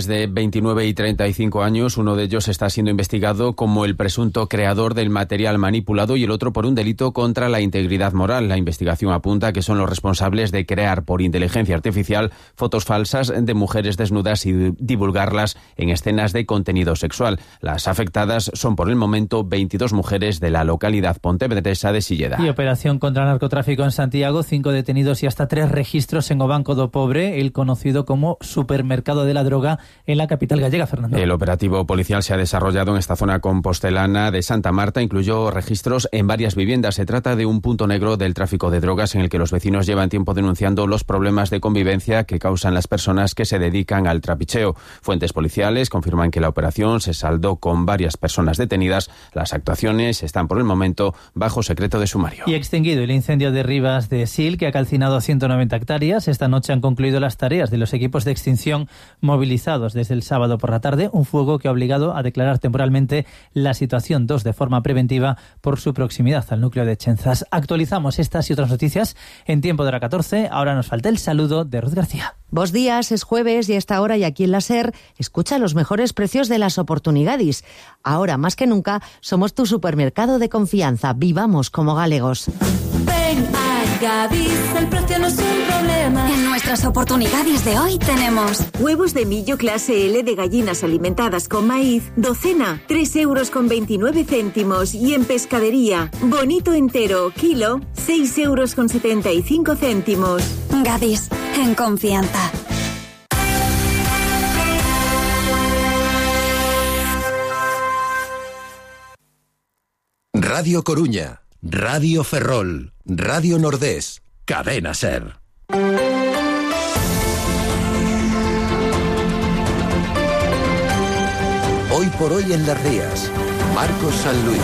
De 29 y 35 años, uno de ellos está siendo investigado como el presunto creador del material manipulado y el otro por un delito contra la integridad moral. La investigación apunta que son los responsables de crear por inteligencia artificial fotos falsas de mujeres desnudas y divulgarlas en escenas de contenido sexual. Las afectadas son por el momento 22 mujeres de la localidad pontevedresa de Silleda. Y operación contra narcotráfico en Santiago, 5 detenidos y hasta 3 registros en O Banco do Pobre, el conocido como supermercado de la droga en la capital gallega, Fernando. El operativo policial se ha desarrollado en esta zona compostelana de Santa Marta, incluyó registros en varias viviendas. Se trata de un punto negro del tráfico de drogas en el que los vecinos llevan tiempo denunciando los problemas de convivencia que causan las personas que se dedican al trapicheo. Fuentes policiales confirman que la operación se saldó con varias personas detenidas. Las actuaciones están por el momento bajo secreto de sumario. Y extinguido el incendio de Rivas de Sil, que ha calcinado 190 hectáreas. Esta noche han concluido las tareas de los equipos de extinción movilizados desde el sábado por la tarde, un fuego que ha obligado a declarar temporalmente la situación 2 de forma preventiva por su proximidad al núcleo de Chenzas. Actualizamos estas y otras noticias en tiempo de la 14. Ahora nos falta el saludo de Ruth García. Bos días, es jueves y a esta hora y aquí en la SER escucha los mejores precios de las oportunidades. Ahora más que nunca somos tu supermercado de confianza. Vivamos como galegos. Ven a Gadis, el precio no es un problema. En nuestras oportunidades de hoy tenemos huevos de millo clase L de gallinas alimentadas con maíz, docena, 3,29 € y en pescadería, bonito entero, kilo, 6,75 €. Gadis, en confianza. Radio Coruña, Radio Ferrol, Radio Nordés, Cadena SER. Hoy por hoy en Las Rías, Marcos San Luis.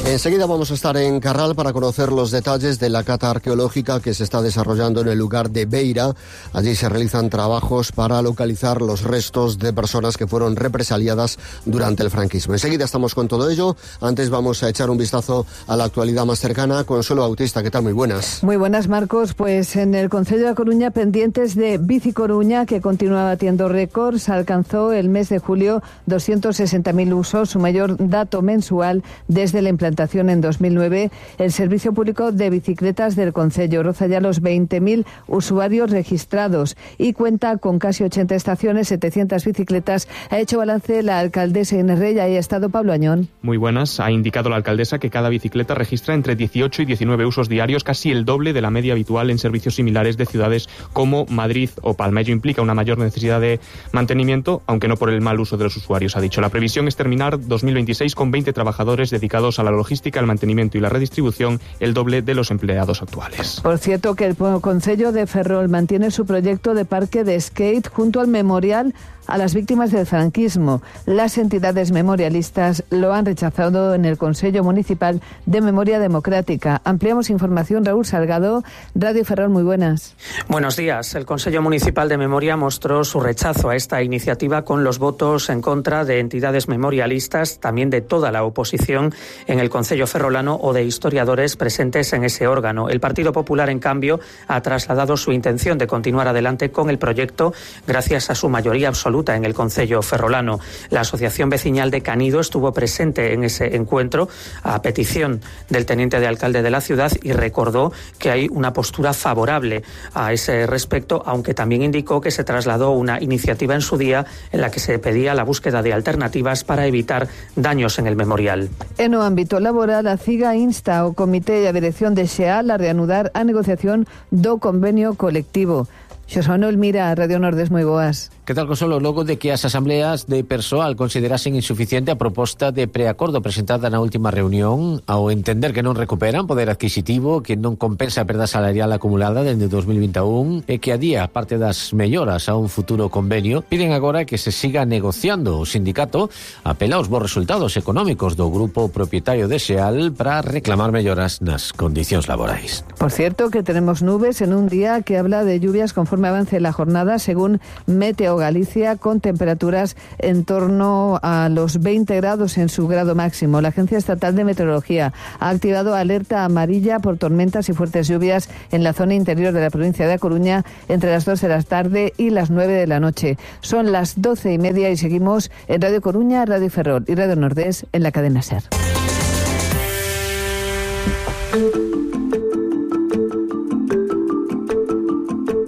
Enseguida vamos a estar en Carral para conocer los detalles de la cata arqueológica que se está desarrollando en el lugar de Beira. Allí se realizan trabajos para localizar los restos de personas que fueron represaliadas durante el franquismo. Enseguida estamos con todo ello. Antes vamos a echar un vistazo a la actualidad más cercana. Consuelo Bautista, ¿qué tal? Muy buenas. Muy buenas, Marcos. Pues en el Concello de Coruña, pendientes de Bici Coruña, que continúa batiendo récords, alcanzó el mes de julio 260.000 usos, su mayor dato mensual desde la implantación en 2009. El Servicio Público de Bicicletas del Concello roza ya los 20.000 usuarios registrados y cuenta con casi 80 estaciones, 700 bicicletas. Ha hecho balance la alcaldesa Inés Rey. Ahí ha estado Pablo Añón. Muy buenas. Ha indicado la alcaldesa que cada bicicleta registra entre 18 y 19 usos diarios, casi el doble de la media habitual en servicios similares de ciudades como Madrid o Palma. Ello implica una mayor necesidad de mantenimiento, aunque no por el mal uso de los usuarios, ha dicho. La previsión es terminar 2026 con 20 trabajadores dedicados a la logística, el mantenimiento y la redistribución, el doble de los empleados actuales. Por cierto, que el Concello de Ferrol mantiene su proyecto de parque de skate junto al memorial a las víctimas del franquismo. Las entidades memorialistas lo han rechazado en el Consello Municipal de Memoria Democrática. Ampliamos información, Raúl Salgado, Radio Ferrol, muy buenas. Buenos días. El Consello Municipal de Memoria mostró su rechazo a esta iniciativa con los votos en contra de entidades memorialistas, también de toda la oposición en el Concello ferrolano o de historiadores presentes en ese órgano. El Partido Popular, en cambio, ha trasladado su intención de continuar adelante con el proyecto gracias a su mayoría absoluta en el Concello ferrolano. La Asociación Vecinal de Canido estuvo presente en ese encuentro a petición del teniente de alcalde de la ciudad y recordó que hay una postura favorable a ese respecto, aunque también indicó que se trasladó una iniciativa en su día en la que se pedía la búsqueda de alternativas para evitar daños en el memorial. En o ámbito laboral, a CIGA insta ao Comité e a Dirección de XEAL a reanudar a negociación do convenio colectivo. Xosé Manuel Mira, Radio Nordés, moi boas. Que tal, Consuelo? Logo de que as asambleas de persoal considerasen insuficiente a proposta de preacordo presentada na última reunión, ao entender que non recuperan poder adquisitivo, que non compensa a perda salarial acumulada dende 2021 e que adía parte das melloras a un futuro convenio, piden agora que se siga negociando. O sindicato apela aos bons resultados económicos do grupo propietario de XEAL para reclamar melloras nas condicións laborais. Por cierto, que tenemos nubes en un día que habla de lluvias conforme conforme avance la jornada, según Meteo Galicia, con temperaturas en torno a los 20 grados en su grado máximo. La Agencia Estatal de Meteorología ha activado alerta amarilla por tormentas y fuertes lluvias en la zona interior de la provincia de A Coruña entre las 2 de la tarde y las 9 de la noche. Son las 12:30 y seguimos en Radio Coruña, Radio Ferrol y Radio Nordés en la cadena SER.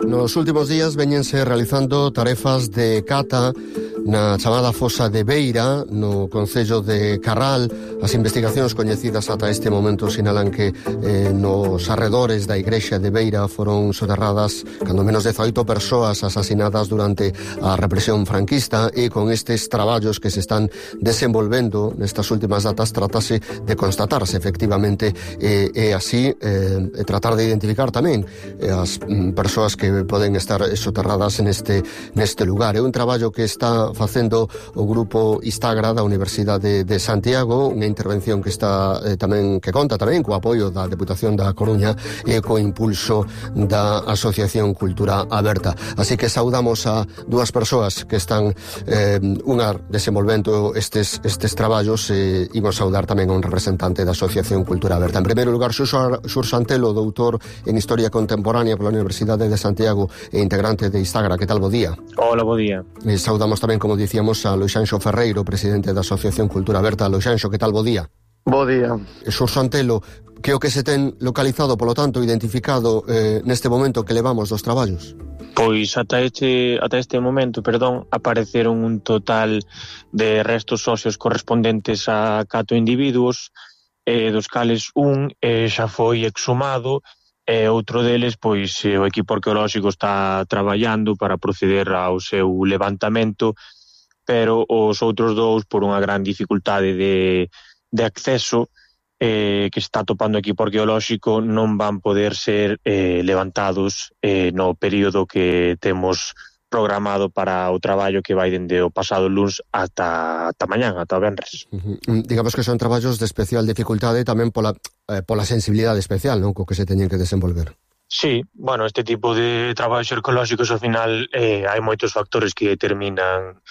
Nos últimos días veñense realizando tarefas de cata na chamada fosa de Beira, no concello de Carral. As investigacións coñecidas ata este momento sinalan que nos arredores da igrexa de Beira foron soterradas cando menos 18 persoas asasinadas durante a represión franquista, e con estes traballos que se están desenvolvendo nestas últimas datas tratase de constatarse efectivamente e así tratar de identificar tamén as persoas que poden estar soterradas neste lugar. É un traballo que está facendo o grupo Istagra da Universidade de Santiago, unha intervención que está que conta tamén co apoio da Deputación da Coruña e co impulso da Asociación Cultura Aberta. Así que saudamos a dúas persoas que están unha desenvolvendo estes traballos, e imos saudar tamén a un representante da Asociación Cultura Aberta. En primeiro lugar, Xur Santelo, doutor en Historia Contemporánea pola Universidade de Santiago e integrante de Istagra. Que tal, bo día? Hola, bo día. Saudamos tamén, como dicíamos, a Loixanxo Ferreiro, presidente da Asociación Cultura Aberta. Loixanxo, que tal, bo día? Bo día. Xur Santelo, que o que se ten localizado, polo tanto, identificado neste momento que levamos dos traballos? Pois ata este momento, apareceron un total de restos óseos correspondentes a 4 individuos, dos cales un xa foi exhumado, e outro deles, pois, o equipo arqueolóxico está traballando para proceder ao seu levantamento, pero os outros dous, por unha gran dificultade de acceso que está topando o equipo arqueolóxico, non van poder ser levantados no período que temos programado para o traballo que vai dende o pasado luns ata mañán, ata o venres. Digamos que son traballos de especial dificultade tamén pola sensibilidade especial, non, co que se teñen que desenvolver. Sí, bueno, este tipo de traballos arqueolóxicos ao final hai moitos factores que determinan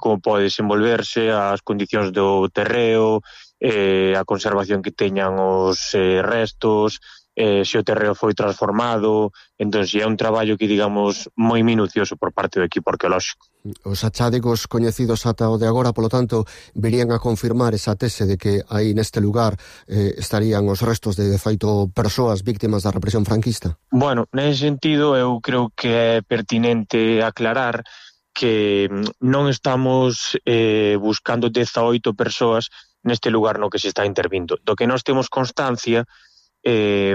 como pode desenvolverse, as condicións do terreo, a conservación que teñan os restos, se o terreo foi transformado. Entón, é un traballo que, digamos, moi minucioso por parte do equipo arqueolóxico. Os achádicos coñecidos ata o de agora, polo tanto, virían a confirmar esa tese de que aí neste lugar estarían os restos de 18 persoas víctimas da represión franquista? Bueno, nese sentido, eu creo que é pertinente aclarar que non estamos buscando 18 persoas neste lugar no que se está intervindo. Do que nós temos constancia,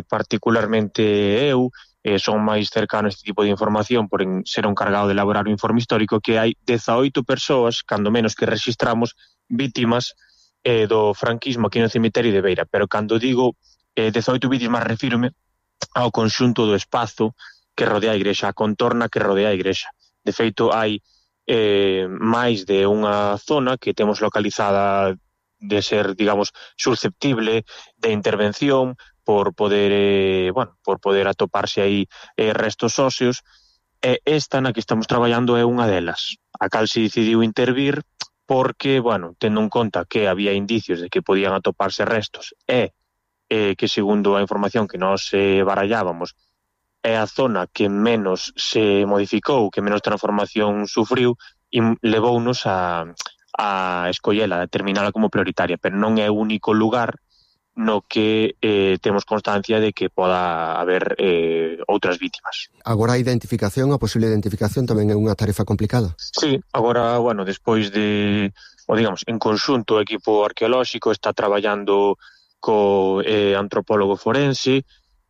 particularmente eu, son máis cercano a este tipo de información por ser un cargado de elaborar o informe histórico, que hai 18 persoas, cando menos, que registramos vítimas do franquismo aquí no cemiterio de Beira. Pero cando digo 18 vítimas, refírome ao conxunto do espazo que rodea a igrexa, a contorna que rodea a igrexa. De feito, hai máis de unha zona que temos localizada de ser, digamos, susceptible de intervención por poder atoparse aí restos óseos, e esta na que estamos traballando é unha delas, a cal se decidiu intervir porque, tendo en conta que había indicios de que podían atoparse restos e que, segundo a información que nós barallábamos, é a zona que menos se modificou, que menos transformación sufriu, e levounos a escollela, a determinala como prioritaria, pero non é o único lugar no que temos constancia de que poda haber outras vítimas. Agora a identificación, a posible identificación tamén é unha tarefa complicada? Sí, agora, despois de, en conxunto o equipo arqueolóxico está traballando co antropólogo forense,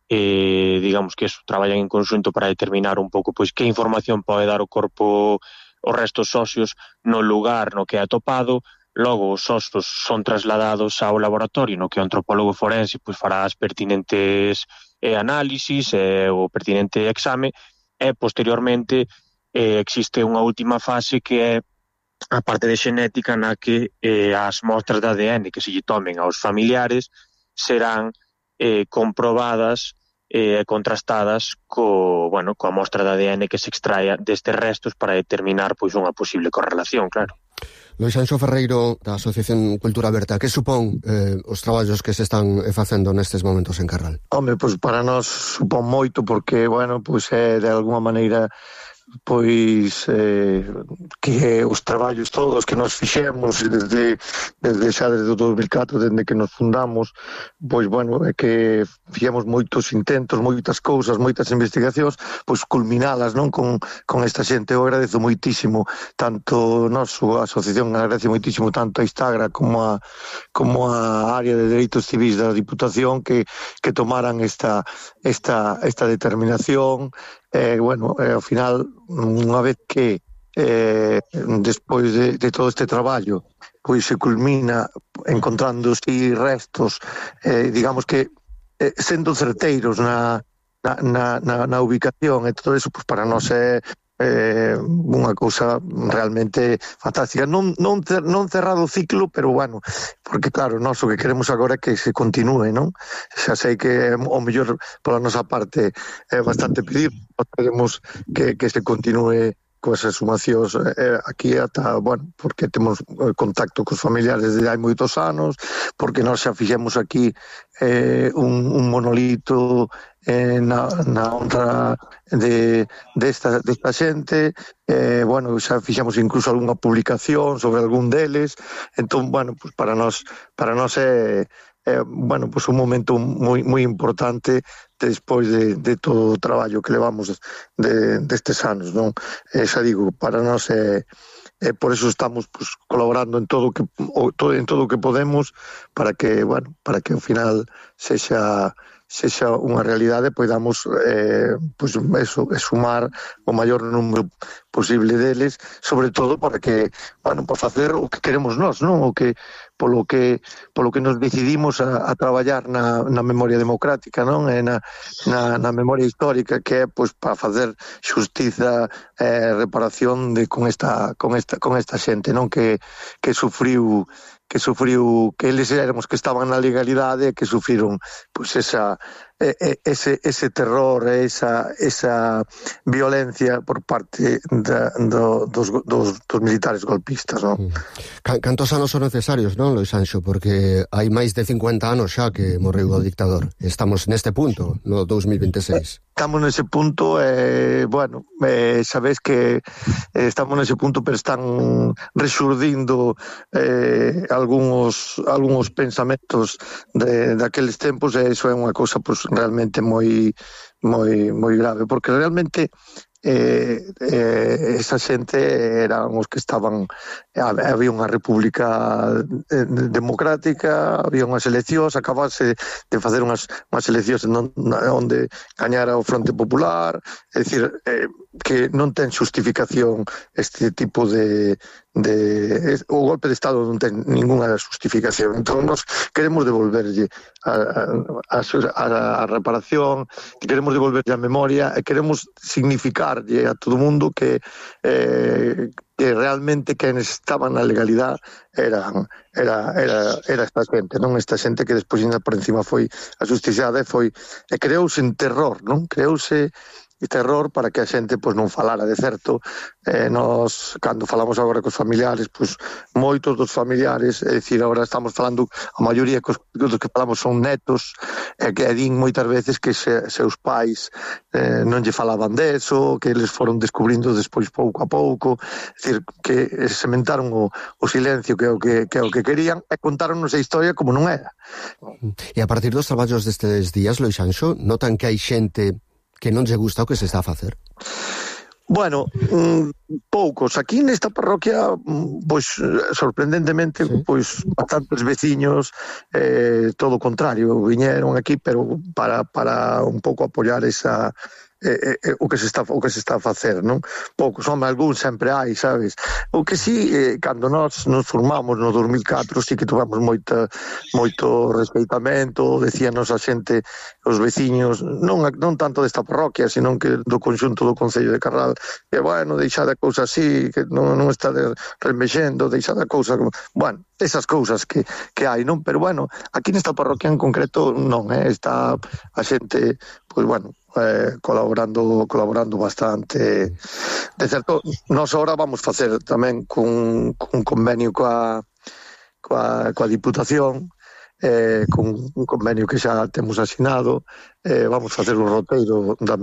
digamos que eso, traballan en conxunto para determinar un pouco pois que información pode dar o corpo, os restos óseos no lugar no que é atopado. Logo, os ossos son trasladados ao laboratorio no que o antropólogo forense fará as pertinentes análisis e o pertinente exame, e posteriormente existe unha última fase que é a parte de xenética na que as mostras de ADN que se lle tomen aos familiares serán comprobadas contrastadas coa mostra de ADN que se extraia destes restos para determinar pois unha posible correlación, claro. Lois Anxo Ferreiro, da Asociación Cultura Aberta, que supón os traballos que se están facendo nestes momentos en Carral? Home, pois para nós supón moito porque, pois é de alguma maneira pois que os traballos todos que nos fixemos desde o 2004, desde que nos fundamos, pois é que fixemos moitos intentos, moitas cousas, moitas investigacións, pois culminalas, non, con esta xente. Eu agradezo moitísimo, tanto noso asociación agradece moitísimo tanto a Instagra como a área de Dereitos Civis da Diputación que tomaran esta determinación. Ao final, unha vez que despois de todo este traballo pois se culmina encontrando restos, digamos que sendo certeiros na ubicación e todo eso, pois para nós é unha cousa realmente fantástica. Non cerrado o ciclo, pero porque claro, nós o que queremos agora é que se continúe, non? Xa sei que o mellor pola nosa parte é bastante pedir, queremos que se continúe coas exhumacións aquí ata, porque temos contacto cos familiares desde hai moitos anos, porque nós xa fixemos aquí un monolito na honra desta xente, xa fixemos incluso algunha publicación sobre algún deles. Entón, pues para nós é pues un momento moi importante despois de todo o traballo que levamos destes anos, non? Xa digo, para nós por eso estamos pues colaborando en todo o que podemos para que ao final sexa unha realidade, podamos pues eso, sumar o maior número posible deles, sobre todo para que, para facer o que queremos nós, non? O que polo que nos decidimos a traballar na memoria democrática, non? E na memoria histórica, que é pois para facer xustiza e reparación con esta xente, non? Que sufriu que eles éramos que estaban na legalidade e que sufriron pois ese terror, esa violencia por parte dos militares golpistas, non? Cantos anos son necesarios, non, Lois Anxo? Porque hai máis de 50 anos xa que morreu o dictador. Estamos neste punto, no 2026. Estamos nese punto, sabes que estamos nese punto, pero están resurdindo algúns pensamentos daqueles tempos, e iso é unha cousa pues, realmente moi grave, porque realmente esa xente eran os que estaban, había unha república democrática, había unhas eleccións, acabase de facer unhas eleccións onde gañara o Fronte Popular, é dicir, que non ten xustificación este tipo o golpe de Estado non ten ninguna xustificación. Entón nos queremos devolverlle a reparación, queremos devolverlle a memoria e queremos significarlle a todo o mundo que realmente quenes estaban na legalidade era esta xente, non? Esta xente que despois por encima foi axusticiada e creouse en terror, non? Creouse terror para que a xente pois non falara de certo. Nós, cando falamos agora cos familiares, pois moitos dos familiares, é dicir, agora estamos falando, a maioría dos que falamos son netos, que din moitas veces que seus pais non lle falaban deso, que eles foron descubrindo despois pouco a pouco, é dicir, que sementaron o silencio que é o que querían e contaronnos a historia como non era. E a partir dos traballos destes días, Lois Anxo, notan que hai xente que non lle gusta o que se está a facer? Bueno, poucos. Aquí nesta parroquia, pois, sorprendentemente, pois, bastantes veciños, todo o contrario, viñeron aquí, pero para un pouco apoiar esa o que se está a facer, non? Poucos, algún sempre hai, sabes? O que sí, cando nos formamos no 2004, sí que tivemos moito respeitamento, decíanos a xente, os veciños, non tanto desta parroquia, senón que do conxunto do Concello de Carral, que, bueno, deixade a cousa así, que non está remexendo, deixade a cousa... Bueno, esas cousas que hai, non? Pero, bueno, aquí nesta parroquia en concreto non, está a xente, pois, bueno, colaborando bastante. De certo, nós ahora vamos facer tamén cun convenio coa Diputación, con un convenio que xa temos asinado, vamos facer o roteiro da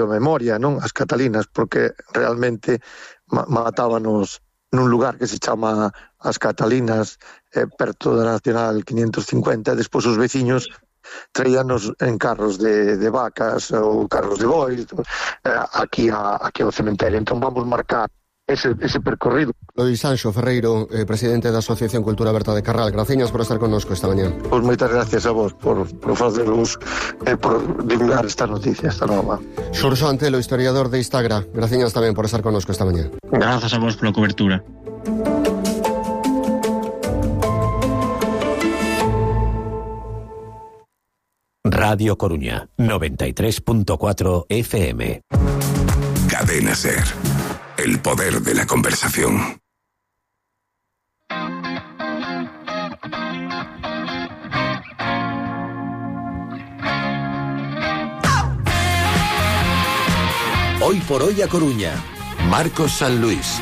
memoria, non? As Catalinas, porque realmente matábanos nun lugar que se chama As Catalinas, perto da Nacional 550, e despois os veciños traíanos en carros de vacas ou carros de bois aquí ao cementerio. Entón vamos marcar ese percorrido. Lois Sanxo Ferreiro, presidente da Asociación Cultura Aberta de Carral, graciñas por estar connosco esta mañá. Pois moitas gracias a vos por facerlos, por divulgar esta noticia, esta nova. Xurxo Antelo, historiador de Instagra, graciñas tamén por estar connosco esta mañá. Grazas a vos pola cobertura. Radio Coruña, 93.4 FM. Cadena SER. El poder de la conversación. Hoy por hoy a Coruña. Marcos San Luis.